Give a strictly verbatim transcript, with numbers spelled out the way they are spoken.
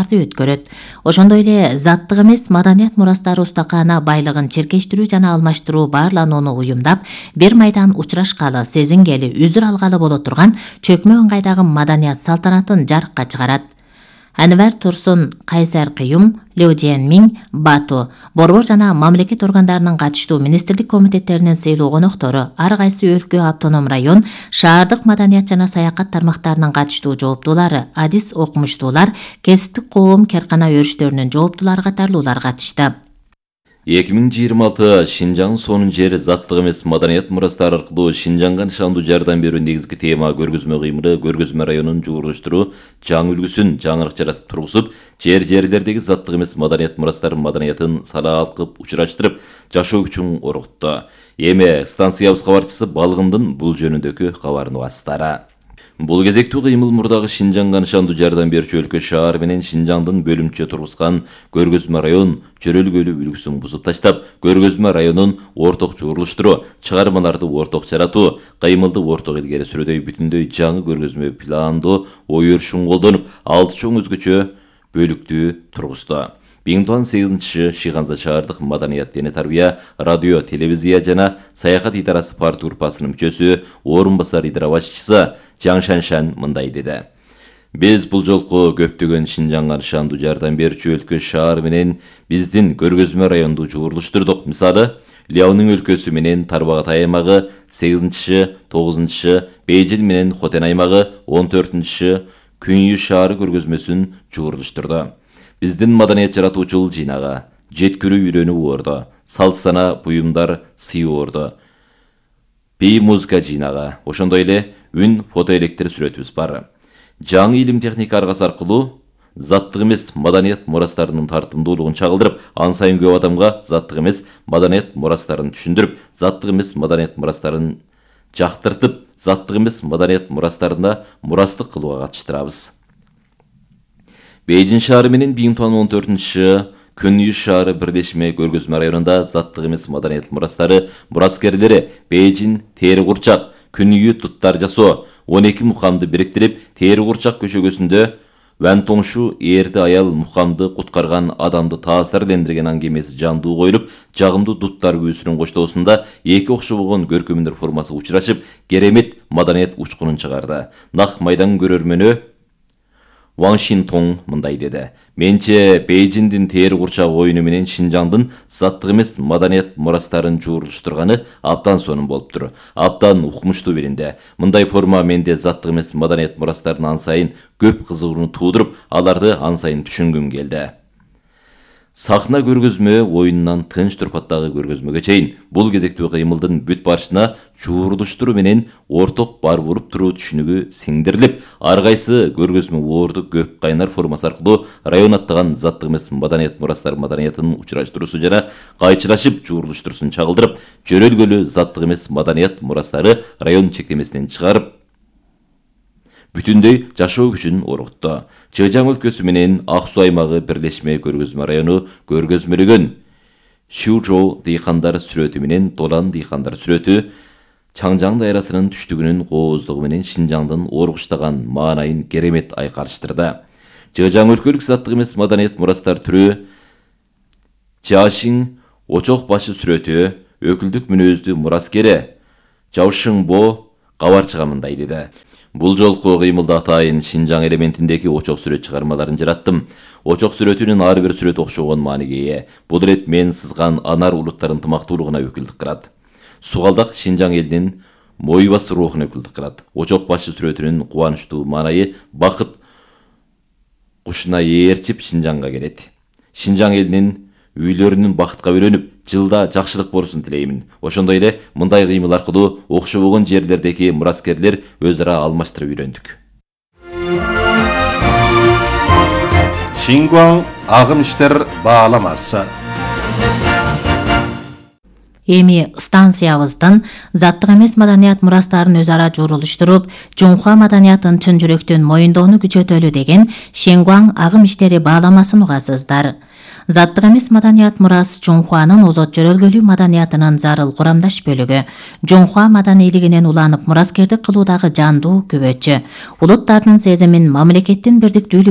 чараларды өткөрөт. Ошондой эле заттык эмес маданият мурастары устакана байлыгын черкештирүү жана алмаштыруу баарланууну уюмдап, бир майдан учурашкалы, сезингели, үзүр алгалы боло турган чөкмө ыңгайдагы маданият салтанатын жарыкка чыгарат. Анвар Турсун, Кайсар Кыюм, Лю Жиэнмиң, Бату, борбор жана мамлекет органдарынын катыштуу министрлик комитеттеринин сыйлуу коноктору, ар кайсы өлкө, автоном район, шаардык маданият жана саякат тармактарынын катыштуу жооптуулары, адис окумуштуулар, кесиптик коом, керкана өрүштөрүнүн жооптуулары катарлуулар катышты. эки миң жыйырма алты Шинжаң сонун жер заттык эмес маданият мурастары аркылуу Шинжаңга нышандуу жардам берүү негизги тема көргөзмө кыймылы көргөзмө районун жуурулуштуруу жаңы үлгүсүн жаңырык жаратып тургузуп, жер жерлердеги заттык эмес маданият мурастарын маданиятын салаал кылып учураштырып, жашоо күчүн оротту. Эми станциябыз кабарчысы Балгындын бул жөнүндөгү кабарын угасыздар. Бул кезектүү кыймыл мурдагы Шинжаңга нышандуу жардам берүүчү өлкө шаар менен Шинжаңдын бөлүмчө тургузган көргөзмө район чөрөлгөлүү үлгүсүн бузуп таштап, көргөзмө районун орток жуурулуштуруу, чыгармаларды орток жаратуу, кыймылды орток илгери сүрөдөй бүтүндөй жаңы көргөзмө пландоо ой өрүшүн колдонуп, алты чоң өзгөчө бөлүктүү тургузду. миң тогуз жүз сегизинчи Шыйганза шаардык маданият дене тарбия, радио, телевизия жана саякат идарасы парт группасынын мүчөсү, орун басар идара башчысы Жаң Шаншан мындай деди. Биз бул жолку көптөгөн Шинжаңга нышандуу жардам берүүчү өлкө шаар менен биздин көргөзмө районду жуурулуштурдук. Мисалы, Ляонун өлкөсү менен Тарбагат аймагы, сегизинчи, тогузунчу Бейжин менен Хотен аймагы, он төртүнчү Күнйү шаары көргөзмөсүн жуурулуштурду. Биздин маданият жаратуучул жыйнага жеткирүү үйрөнүү орду, салт сана буюмдар сый орду, бий музыка жыйнага, ошондой эле үн фотоэлектр сүрөтүбүз бар. Жаңы илим техника аргасы аркылуу заттык эмес маданият мурастарынын тартымдуулугун чагылдырып, ан сайын көп адамга заттык эмес маданият мурастарын түшүндүрүп, заттык эмес маданият мурастарын жактыртып, заттык эмес маданият мурастарында мурастык кылууга катыштырабыз. Бейжин шаары менен миң тогуз жүз он төртүнчү Күнйү шаары бирдешме көргөзмө районунда заттык эмес маданият мурастары мураскерлери Бейжин тери курчак, Күнйү туттар жасоо, он эки мукамды бириктирип, тери курчак көшөгөсүндө Ван Тоңшу эрди аял мукамды куткарган адамды таасирлендирген аңгемеси жандуу коюлуп, жагымдуу дуттар күүсүнүн коштоосунда эки окшобогон көркөмдөр формасы учурашып, керемет маданият учкунун чыгарды. Нак майдан көрөрмөнү Ван Шинтоң мындай деди. Менче Бейжиндин тери курчак оюну менен Шинжаңдын заттык эмес маданият мурастарын жуурулуштурганы абдан сонун болуптур. Абдан укмуштуу билинди. Мындай форма менде заттык эмес маданият мурастарын ан сайын көп кызыгууну туудуруп, аларды ан сайын түшүнгүм келди. Сахна көргөзмө оюнунан тынч турпаттагы көргөзмөгө чейин бул кезектүү кыймылдын бүт барышына жуурулуштуруу менен орток бар буруп туруу түшүнүгү сиңдирилип, ар кайсы көргөзмө орду көп кайнар формасы аркылуу район аттаган заттык эмес маданият мурастар маданиятын учураштыруусу жана кайчылашып жуурулуштуруусун чагылдырып, жөрөлгөлүү заттык эмес маданият мурастары район чектемесинен чыгарып, бүтүндөй жашоо күчүн оргутту. Чыжаң өлкөсү менен Ак Суу аймагы бирлешме көргөзмө району көргөзмөлөгөн Шүүжоу дыйкандар сүрөтү менен Долан дыйкандар сүрөтү Чаңжаң дайрасынын түштүгүнүн кооздугу менен Шинжаңдын оргуштаган маанайын керемет айкалыштырды. Чыжаң өлкөлүк заттык эмес маданият мурастар түрү Жашиң очок башы сүрөтү өкүлдүк мүнөздүү мураскери Жаушыңбо кабарчыга мындай деди. Бул жолку кыймылда атайын Шинжаң элементиндеги очок сүрөт чыгармаларын жараттым. Очок сүрөтүнүн ар бир сүрөт окшогон мааниге ээ. Бул ирет мен сызган анар улуттар ынтымактуулугуна өкүлдүк кылат. Сугалдак Шинжаң элинин мойбас рухуна өкүлдүк кылат. Очок башы сүрөтүнүн кубанычтуу маанайы бакыт кушуна ээрчип Шинжаңга келет. Шинжаң элинин үйлөрүнүн бакытка бөлөнүп, жылда жакшылык болсун тилеймин. Ошондой эле мындай кыймыл аркылуу окшобогон жерлердеги мураскерлер өз ара алмаштырып үйрөндүк. Шингуаң агым иштер бааламасы. Эми станциябыздын заттык эмес маданият мурастарын өз ара жуурулуштуруп, Жунхуа маданиятын чын жүрөктөн моюндоону күчөтөлү деген Шингуаң агым иштери бааламасын угасыздар. Заттык эмес маданият мурас Жунхуанын озот жөрөлгөлүү маданиятынын зарыл курамдаш бөлүгү. Жунхуа маданийлигинен уланып мураскердик кылуудагы жандуу күбөчү. Улуттардын сезимин, мамлекеттин бирдиктүүлүгүн